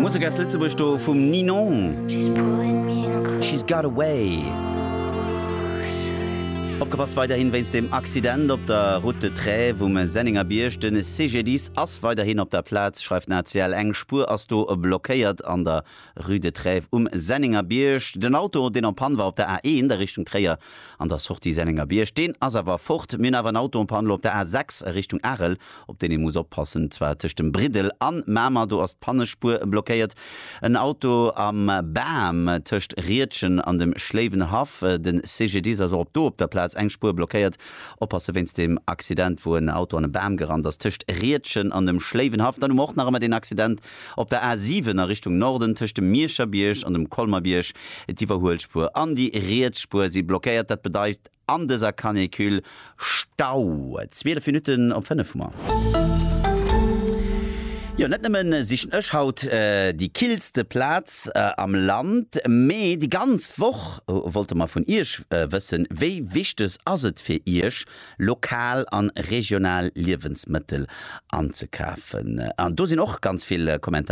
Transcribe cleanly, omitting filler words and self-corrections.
Musek aus Lëtzebuerg do vum Ninon, She's Got Away. Opgepasst weiderhin wéinst dem Accident op der Route de Trèves um Sennengerbierg. De CGDIS ass weiderhin op der Plaz, schreift den ACL. Eng Spuer ass do blockéiert an der Rue de Trèves um Sennengerbierg. Den Auto, deen en panne war op der A1 a Richtung Tréier an der Sortie Sennengerbierg, deen ass awer fort. Mir hunn awer en Auto en panne lo op der A6 a Richtung Arel, op deen ee muss oppassen, zwar tëscht dem Briddel an Mamer, do ass d'Pannespuer blockéiert. En Auto am Bam tëscht Riedgen an dem Schléiwenhaff. De CGDIS ass och op do op der Plaz, eng Spuer blockéiert. Oppasse wéinst dem Accident, wou en Auto an e Bam gerannt ass tëscht Riedgen an dem Schléiwenhaff. Dann hu mer och nach ëmmer deen Accident Op der A 7 a Richtung Norden tëscht dem Mierscherbierg an dem Colmerbierg, d'Iwwerhuelspuer an déi riets Spuer si blockéiert. Dat bedeit an dëser Canicule Stau. 12 Minutten op 5 hu mer. Jo, net nëmmen sichen ech haut déi killste Plaz am Land, mee déi ganz Woch wollte mer vun iech wëssen, wéi wichteg ass et fir iech, lokal an regional Liewensmëttel anzekafen. An do sinn och ganz vill Kommentaren.